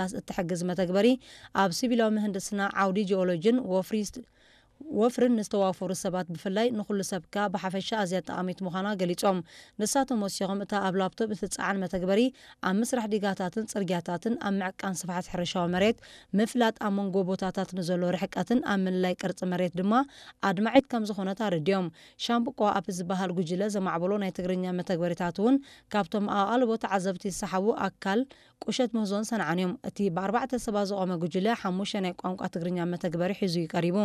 ንምድምሳስ እትሕግዝ መተግበሪ ኣብ ሲቪላዊ ምህንድስና፣ ዓውዲ ጂኦሎጂን ወፍሪ ወፍርን ንዝተዋፈሩ ሰባት ብፍላይ ንኹሉ ሰብካ ብሓፈሻ ኣዝያ ጠቓሚት ምዃና ገሊጾም። ንሳቶም ወሲኾም እታ ኣብ ላፕቶፕ እትጸዓን መተግበሪ ኣብ ምስራሕ ዲጋታትን ጽርግያታትን፣ ኣብ ምዕቃን ስፍሓት ሕርሻዊ መሬት፣ ምፍላጥ ኣብ መንጎ ቦታታት ንዘሎ ርሕቀትን ኣብ ምልላይ ቅርጺ መሬት ድማ ኣድማዒት ከም ዝኾነት ኣረዲኦም። ሻምብቆ ኣፕ ዝበሃል ጉጅለ ዘማዕበሎ ናይ ትግርኛ መተግበሪታት እውን ካብቶም ኣቓልቦ ተዓዘብቲ ዝሰሓቡ ኣካል ቁሸት ምህዞን ሰንዓን እዮም። እቲ ብኣርባዕተ ሰባት ዝቖመ ጉጅለ ሓሙሽተ ናይ ቋንቋ ትግርኛ መተግበሪ ሒዙ እዩ ቀሪቡ።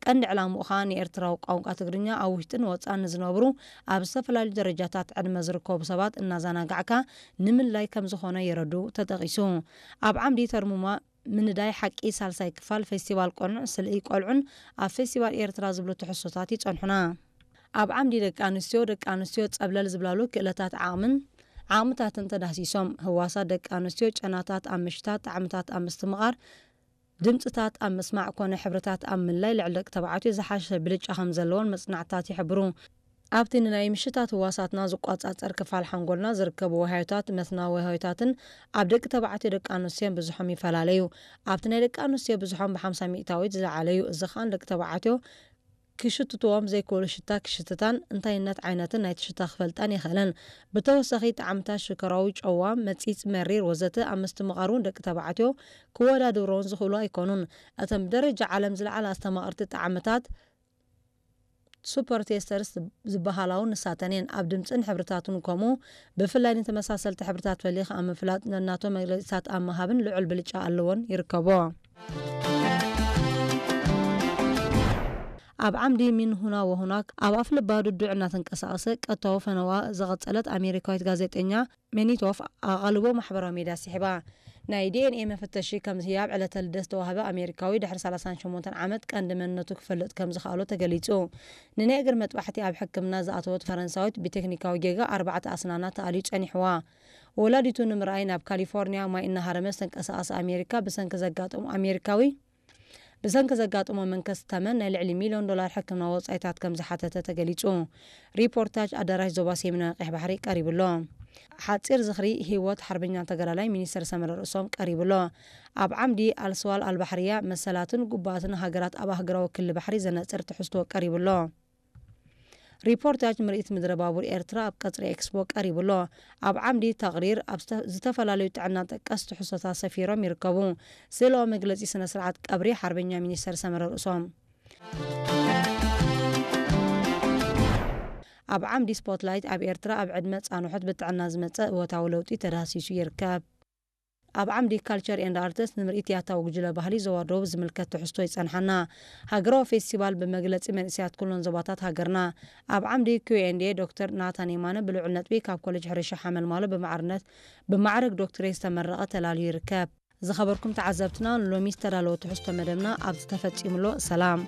ቀንዲ ዕላምኡ ኸኣ ንኤርትራዊ ቋንቋ ትግርኛ ኣብ ውሽጥን ወጻእን ንዝነብሩ ኣብ ዝተፈላለዩ ደረጃታት ዕድመ ዝርከቡ ሰባት እናዘናጋዕካ ንምልላይ ከም ዝኾነ የረዱ ተጠቒሱ። ኣብ ዓምዲ ተርሙማ ምንዳይ ሓቂ ሳልሳይ ክፋል ፌስቲቫል ቆንዕ ስልኢ ቆልዑን ኣብ ፌስቲቫል ኤርትራ ዝብሉ ትሕዝቶታት ይጸንሑና። ኣብ ዓምዲ ደቂ ኣንስትዮ፣ ደቂ ኣንስትዮ ጸብለል ዝብላሉ ክእለታት ዓቕምን ዓቕምታትን ተዳህሲሶም። ህዋሳት ደቂ ኣንስትዮ፣ ጨናታት ኣብ ምሽታት፣ ጣዕምታት ኣብ ምስትምቓር፣ ድምጽታት ኣብ ምስማዕ ኮነ ሕብርታት ኣብ ምልላይ ልዕሊ ደቂ ተባዕትዮ ዝሓሸ ብልጫ ከም ዘለዎን መጽናዕትታት ይሕብሩ። ኣብቲ ንናይ ምሽታት ህዋሳትና ዝቆጻጸር ክፋል ሓንጎልና ዝርከቡ ወሃዮታት፣ መትናዊ ወሃዮታትን ኣብ ደቂ ተባዕትዮ ደቂ ኣንስትዮን ብዝሖም ይፈላለዩ። ኣብቲ ናይ ደቂ ኣንስትዮ ብዝሖም ብ50 ሚእታዊት ዝለዓለ እዩ። እዚ ኸኣ ንደቂ ተባዕትዮ ክሽትትዎም ዘይክእሉ ሽታ ክሽትታን እንታይነት ዓይነትን ናይቲ ሽታ ክፈልጣን የኽእለን። ብተወሳኺ ጣዕምታት ሽኮራዊ፣ ጨዋ፣ መጺጽ፣ መሪር ወዘተ ኣብ ምስትምቓር እውን ደቂ ተባዕትዮ ክወዳድሮን ዝኽእሉ ኣይኮኑን። እተን ብደረጃ ዓለም ዝለዓላ ኣስተማቐርቲ ጣዕምታት ሱፐር ቴስተርስ ዝበሃላ እውን ንሳተን እየን። ኣብ ድምጽን ሕብርታትን ከምኡ ብፍላይ ንተመሳሰልቲ ሕብርታት ፈሊኻ ኣብ ምፍላጥ ነናቶም መግለጺታት ኣብ ምሃብን ልዑል ብልጫ ኣለዎን ይርከቦ። ኣብ ዓምዲ ሚን ሁና ወሁናክ ኣብ ኣፍልባ ድዱዕ እናተንቀሳቐሰ ቀጥታዊ ፈነዋ ዘቐጸለት ኣሜሪካዊት ጋዜጠኛ ሜኒቶፍ ኣቓልቦ ማሕበራዊ ሚድያ ስሒባ። ናይ ዲ ኤን ኤ መፈተሺ ከም ህያብ ዕለተ ልደት ዝተዋህበ ኣሜሪካዊ ድሕሪ ሰላሳን ሸሞንተን ዓመት ቀንዲ መንነቱ ክፈልጥ ከም ዝኸኣሎ ተገሊጹ። ንናይ እግሪ መጥባሕቲ ኣብ ሕክምና ዝኣተወት ፈረንሳዊት ብቴክኒካዊ ጌጋ ኣርባዕተ ኣስናና ተኣልዩ ጸኒሕዋ። ወላዲቱ ንምርኣይ ናብ ካሊፎርኒያ ማይ እናሃረመ ዝተንቀሳቐሰ ኣሜሪካ ብሰንኪ ዘጋጠሙ ኣሜሪካዊ ብሰንኪ ዘጋጠሞ መንከስ ተመን ናይ ልዕሊ ሚልዮን ዶላር ሕክምና ወጻኢታት ከም ዝሓተተ ተገሊጹ። ሪፖርታጅ ኣዳራሽ ዞባ ሰሜናዊ ቀይሕ ባሕሪ ቀሪቡ ኣሎ። ሓጺር ዝኽሪ ህይወት ሓርበኛ ተጋዳላይ ሚኒስተር ሰመረ ርእሶም ቀሪቡ ኣሎ። ኣብ ዓምዲ ኣልስዋል ኣልባሕርያ መሰላትን ጉባትን ሃገራት ኣብ ኣህጉራዊ ክሊ ባሕሪ ዘነጽር ትሕዝቶ ቀሪቡ ኣሎ። ሪፖርታጅ ምርኢት ምድረ ባቡር ኤርትራ ኣብ ቀጽሪ ኤክስፖ ቀሪቡ ኣሎ። ኣብ ዓምዲ ተቕሪር ኣብ ዝተ-፣ ዝተፈላለዩ ጥዕና ጠቀስ ትሕዝቶታት ሰፊሮም ይርከቡ። ስእላዊ መግለጺ ስነ ስርዓት ቀብሪ ሓርበኛ ሚኒስተር ሰመረ ርእሶም። ኣብ ዓምዲ ስፖትላይት ኣብ ኤርትራ ኣብ ዕድመ ጻንሖት ብጥዕና ዝመጸ እወታዊ ለውጢ ተዳህሲሱ ይርከብ። ኣብ ዓምዲ ካልቸር ኤንድ ኣርትስ ንምርኢት ያታዊ ጉጅለ ባህሊ ዞባ ደቡብ ዝምልከት ትሕዝቶ ይጸንሓና። ሃገራዊ ፌስቲቫል ብመግለጺ መንእሰያት ኩለን ዞባታት ሃገርና። ኣብ ዓምዲ ኪው ኤንድ ኤ ዶክተር ናታን የማነ ብልዑል ነጥቢ ካብ ኮሌጅ ሕርሻ ሓመልማሎ ብማዕርነት ብማዕረግ ዶክትሬት ዝተመረቐ ተላልዩ ይርከብ። ዝኸበርኩም ተዓዘብትና፣ ንሎሚ ዝተዳለወ ትሕዝቶ መደብና ኣብዚ ተፈጺሙ ኣሎ። ሰላም።